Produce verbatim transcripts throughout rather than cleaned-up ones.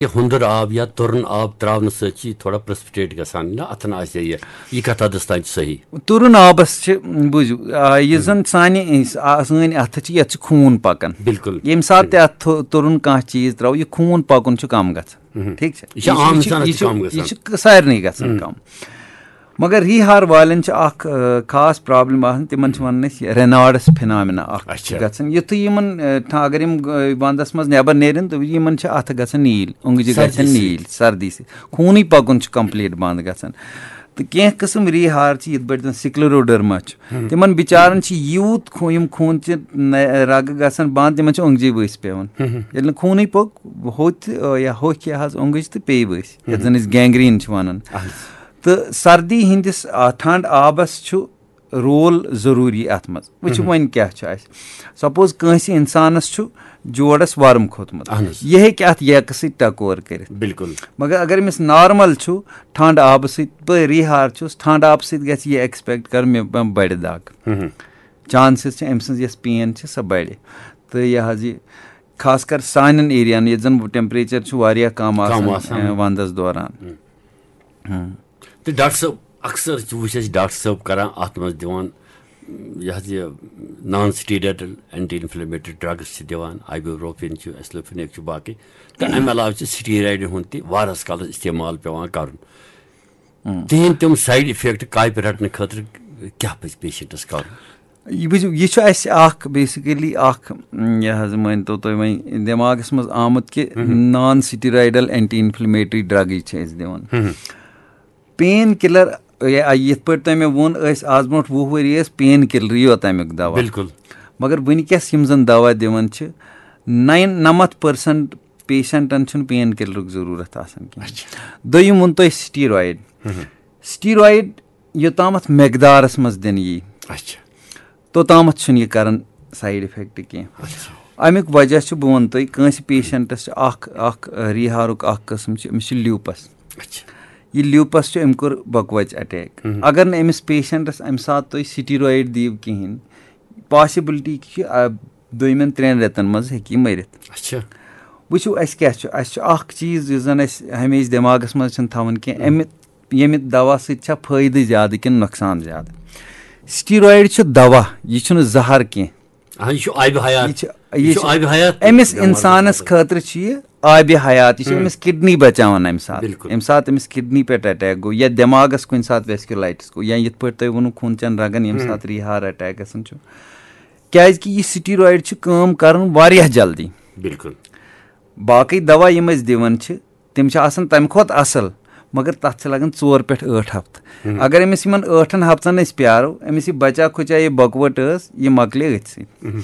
یہِ ہُنٛدُر آب یا تُرُن آب ترٛاونہٕ سۭتۍ چھِ یہِ تھوڑا پریسپٹیٹ گژھان، نہ اَتھن آسہِ یہِ، یہِ کَتھ حدس تام چھِ صحیح؟ تُرُن آبس چھِ، بوٗزِو، آ، یُس زن سانہِ، آ، سٲنۍ اَتھٕ چھِ، یَتھ چھُ خوٗن پکان۔ بالکل۔ ییٚمہِ ساتہٕ تہِ اَتھ تھو- تُرُن کانٛہہ چیٖز ترٛاوو، یہِ خوٗن پکُن چھُ کَم گژھان۔ ٹھیٖک چھا؟ یہِ چھُ عام اِنسانَس تہِ کَم یہِ گژھان۔ چھُ سارنٕے گژھان کَم۔ مگر ریہار والٮ۪ن چھِ اکھ، آ، خاص پرابلم آسان، تِمن چھِ ونان أسۍ ریناڈس فِنامنا اکھ اچھا۔ گژھان۔ یُتھُے یِمن، آ، ٹھا- اگر یِم، آ، ونٛدس منٛز نٮ۪بر نیرن، تہٕ یِمن چھِ اَتھٕ گژھان نیٖل، اوٚنٛگجہِ سردی گژھن سۭتۍ۔ نیٖل سردی سۭتۍ، خوٗنٕے پکُن چھُ کمپلیٖٹ بنٛد گژھان۔ تہٕ کینٛہہ قٕسم ریہار چھِ، یِتھ پٲٹھۍ زن سکلیروڈرما چھُ، تِمن بِچارن چھِ یوٗت خو- یِم خوٗن چہِ نہ- رگہٕ گژھان بنٛد، تِمن چھِ اوٚنٛگجہِ ؤسۍ پٮ۪وان۔ ییٚلہِ نہٕ خوٗنٕے پوٚک، ہوٚتہِ، آ، یا ہوٚکھ یہِ حظ اوٚنٛگٕج تہٕ پیٚیہِ ؤسۍ، یَتھ زن أسۍ گینگریٖن چھِ ونان۔ تہٕ سردی ہٕنٛدِس، آ، ٹھنٛڈ آبس چھُ رول ضروٗری اتھ منٛز۔ وٕچھِو وۄنۍ کیٛاہ چھُ اَسہِ۔ سپوز کٲنٛسہِ انسانس چھُ جوڑس ورم کھوٚتمُت، اہن حظ۔ یہِ ہیٚکہِ اتھ ییٚکہٕ سۭتۍ ٹکور کٔرِتھ۔ بالکل۔ مگر اگر أمِس نارمل چھُ، ٹھنٛڈ آبہٕ سۭتۍ، بہٕ ریہار چھُس، ٹھنٛڈ آبہٕ سۭتۍ گژھِ یہِ ایکسپیکٹ کرُن مےٚ بڑِ دگ۔ چانسز چھِ أمۍ سٕنٛز یۄس پین چھِ، سۄ بڑِ۔ تہٕ یہِ حظ یہِ خاص کر سانٮ۪ن ایریاہن، ییٚتہِ زن ٹیمپریچر چھُ واریاہ کم آسان، آسان۔ اَ، ونٛدس دوران۔ تہٕ ڈاکٹر صٲب، اکثر چھِ وٕچھ أسۍ ڈاکٹر صٲب کران اتھ منٛز دِوان، یہِ حظ یہِ نان سٹیرایڈل اینٹی انفلیمیٹری ڈرگس چھِ دِوان، آیبوپروفین چھُ، ایسلوفینیک چھُ، باقٕے۔ تہٕ امہِ علاوٕ چھِ سٹیرایڈ ہُنٛد تہِ واریاہس کالس استعمال پٮ۪وان کرُن۔ تِہنٛدۍ تِم سایڈ افیکٹ کاپہِ رٹنہٕ خٲطرٕ کیٛاہ پزِ پیشنٹس کرُن؟ یہِ وٕچھِو، یہِ چھُ اَسہِ اکھ بیسیکلی اکھ، م، یہِ حظ مٲنۍ تو تُہۍ وۄنۍ دٮ۪ماغس منٛز آمُت کہِ نان سٹیرایڈل اینٹی انفلیمیٹری ڈرگٕے چھِ أسۍ دِوان۔ پین کِلر، یہِ- یِتھ پٲٹھۍ تۄہہِ مےٚ ووٚن، أسۍ آز برونٛٹھ وُہ ؤری ٲسۍ پین کِلرٕے یوت تَمیُک دوا۔ بالکل۔ مگر وٕنکیٚس یِم زن دوا دِوان چھِ، نَین نَمَتھ پٔرسنٹ پیشنٹن چھُنہٕ پین کِلرُک ضروٗرت آسان کینٛہہ۔ دوٚیِم ووٚن تۄہہِ سٹیرایڈ۔ سٹیرایڈ یوٚتامَتھ مقدارس منٛز دِنہٕ یی، اچھا۔ توٚتامَتھ چھُنہٕ یہِ کران سایڈ افیکٹ کینٛہہ۔ اَمیُک وجہ چھُ، بہٕ وَنہٕ تۄہہِ، کٲنٛسہِ پیشنٹس چھُ اکھ، اکھ، آ، ریہارُک اکھ قٕسم چھُ، أمِس چھُ لیوپس۔ اچھا۔ یہِ لیوپس چھُ، أمۍ کوٚر بۄکہٕ وَچہِ اٹیک۔ اگر نہٕ أمِس پیشنٹس اَمہِ ساتہٕ تُہۍ سٹیرایڈ دِیِو کِہینۍ، پاسبلٹی چھِ، آ، دوٚیمٮ۪ن ترٛٮ۪ن رٮ۪تن منٛز ہیٚکہِ یہِ مٔرِتھ۔ اچھا۔ وٕچھِو، اَسہِ کیٛاہ چھُ؟ اَسہِ چھُ اکھ چیٖز یُس زن اَسہِ ہمیشہِ دٮ۪ماغس منٛز چھُنہٕ تھاوُن کینٛہہ، اَمہِ ییٚمہِ دوا سۭتۍ چھا فٲیدٕ زیادٕ کِنہٕ نۄقصان زیادٕ؟ سٹیرایڈ چھُ دوا، یہِ چھُنہٕ زہر کینٛہہ۔ اہن، یہِ چھُ آبِ حیات۔ یہِ چھُ، یہِ یہِ چھُ چھُ آبِ حیات أمِس دٮ۪ماغَس اِنسانَس منٛز۔ خٲطرٕ چھُ یہِ آبِ حیات، یہِ چھُ أمِس کِڈنی بچاوان اَمہِ ساتہٕ۔ بِلکُل۔ اَمہِ ساتہٕ أمِس کِڈنی پٮ۪ٹھ اٹیک گوٚو یا دٮ۪ماغَس کُنہِ ساتہٕ ویسکیولایٹس گوٚو یا یِتھ پٲٹھۍ تۄہہِ ووٚنوُ خوٗن چٮ۪ن رگن ییٚمہِ ساتہٕ ریہار اٹیک گژھان چھُ، کیازِ کہِ یہِ سٹیرایڈ چھُ کٲم کران واریاہ جلدی۔ بِلکُل۔ باقٕے دوا یِم أسۍ دِوان چھِ، تِم چھِ آسان تَمہِ کھۄتہٕ اَصٕل، مگر تَتھ چھِ لَگان ژور پٮ۪ٹھ ٲٹھ ہفتہٕ۔ اگر أمِس یِمَن ٲٹھَن ہفتَن أسۍ پیارو، أمِس یہِ بَچا کھُچا یہِ بۄکوَٹ ٲس، یہِ مۄکلے أتھۍ سۭتۍ۔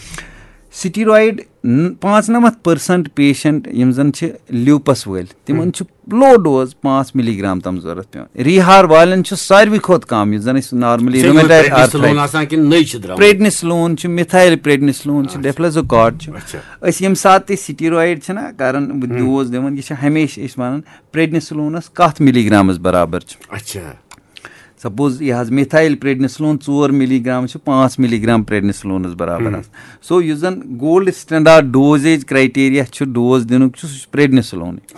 سٹیرایڈ ن-، پانٛژنَمَتھ پٔرسنٹ پیشنٹ یِم زَن چھِ لیوپَس وٲلۍ، تِمَن چھُ لو ڈوز پانٛژھ ملی گرام تام ضوٚرَتھ پٮ۪وان۔ ریہار والٮ۪ن چھُ ساروی کھۄتہٕ کَم، یُس زَن أسۍ نارملی یہِ چھا یِمَن رومیٹایڈ پریڈنیسلون آرتھرائٹس، آسان کِنہٕ نٔے چھِ درٛامٕتۍ؟ پریڈنیسلون چھُ، مِتھایل پریڈنیسلون چھُ، ڈیفلیزوکاٹ چھُ۔ اچھا۔ أسۍ ییٚمہِ ساتہٕ تہِ سٹیرایڈ چھِنہ کران، ڈوز دِوان، یہِ چھِ ہمیشہِ أسۍ وَنان پریڈنیسلونَس کَتھ ملی گرامَس برابر چھُ۔ اچھا۔ سپوز یہِ حظ مِتھایل پریڈنیسلون ژور ملی گرام چھُ، پانٛژھ ملی گرام پریڈنیسلونَس برابر حظ۔ سو یُس زَن گولڈ سٹینڈارڈ ڈوزیج کرائٹیریا چھُ ڈوز دِنُک چھُ، سُہ چھُ پریڈنیسلونٕے۔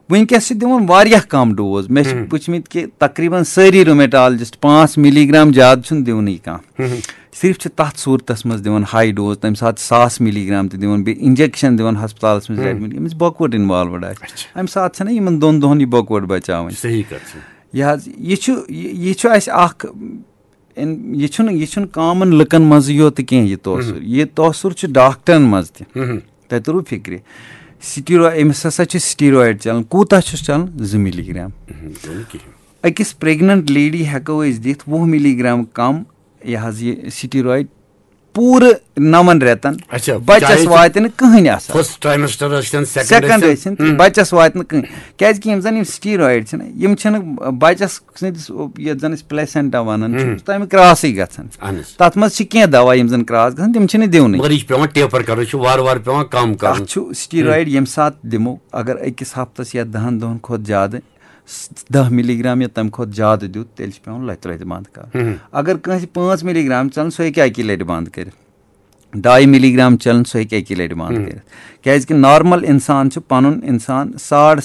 وٕنکیٚس چھِ دِوان واریاہ کَم ڈوز۔ مےٚ چھِ وٕچھمٕتۍ کہِ تقریباً سٲری رومیٹالجسٹ پانٛژھ ملی گرام زیادٕ چھُنہٕ دِونٕے کانٛہہ۔ صرف چھِ تَتھ صوٗرتَس منٛز دِوان ہاے ڈوز، تَمہِ ساتہٕ ساس ملی گرام تہِ دِوان، بیٚیہِ انجیکشن دِوان ہسپتالَس منٛز ایڈمٹ، ییٚمِس بۄکوَٹ انوالوڈ آسہِ۔ اچھا۔ اَمہِ ساتہٕ چھَنہ یِمن دۄن دۄہَن یہِ بۄکوَٹ بچاوٕنۍ۔ صحیح کَتھ چھِ۔ یہِ حظ، یہِ چھُ، یہِ یہِ چھُ اَسہِ اَکھ، اِن-، یہِ چھُنہٕ، یہِ چھُنہٕ کامن لُکن منٛزٕے یوت کینٛہہ یہِ توسُر۔ یہِ توسُر چھُ ڈاکٹرن منٛز تہِ۔ تۄہہِ توٚروٕ فِکرِ؟ سٹیرو-، أمِس ہسا چھُ سٹیرایڈ چلان۔ کوٗتاہ چھُس چلان؟ زٕ ملی گرام۔ دِنہٕ کِہیٖنۍ۔ أکِس پریگننٹ لیڈی ہٮ۪کو أسۍ دِتھ وُہ ملی گرام کم، یہِ حظ یہِ سٹیرایڈ، پوٗرٕ نَوَن رٮ۪تن۔ اچھا، بچس چاہے سُہ واتہِ نہٕ کٕہٕنۍ اثر۔ فرسٹ ٹرائمسٹر ٲسۍ تن، سیکنڈ سیکنڈ ٲسۍ ٲسِن، بچس واتہِ نہٕ کٕہٕنۍ۔ کیازِ کہِ یِم زن یِم سٹیرایڈ چھِنہ، یِم چھِنہٕ بچس سٕنٛدِس، یتھ زن أسۍ پلیسینٹا ونان چھِ، تن۔ تمیُک کراسٕے گژھان۔ اہن حظ۔ تتھ منٛز چھِ کینٛہہ دوا یِم زن کراس گژھان، تِم چھِنہٕ دِونٕے۔ مگر یہِ چھُ پٮ۪وان ٹیپر کرُن، یہِ چھُ وارٕ وارٕ پٮ۪وان کم کرُن۔ اتھ چھُ سٹیرایڈ ییٚمہِ ساتہٕ دِمو، اگر أکِس ہفتس یا دہن دۄہن کھۄتہٕ زیادٕ س-، دَہ ملی گرام یا تَمہِ کھۄتہٕ زیادٕ دیُت، تیٚلہِ چھُ پٮ۪وان لَتہِ لَتہِ بنٛد کَرُن۔ اگر کٲنٛسہِ پانٛژھ ملی گرام ژَلن، سُہ ہیٚکہِ اَکی لَٹہِ بنٛد کٔرِتھ۔ ڈاے ملی گرام چلان، سُہ ہیٚکہِ اَکی لَٹہِ بنٛد کٔرِتھ۔ کیٛازِ کہِ نارمل اِنسان چھُ پَنُن اِنسان ساڑ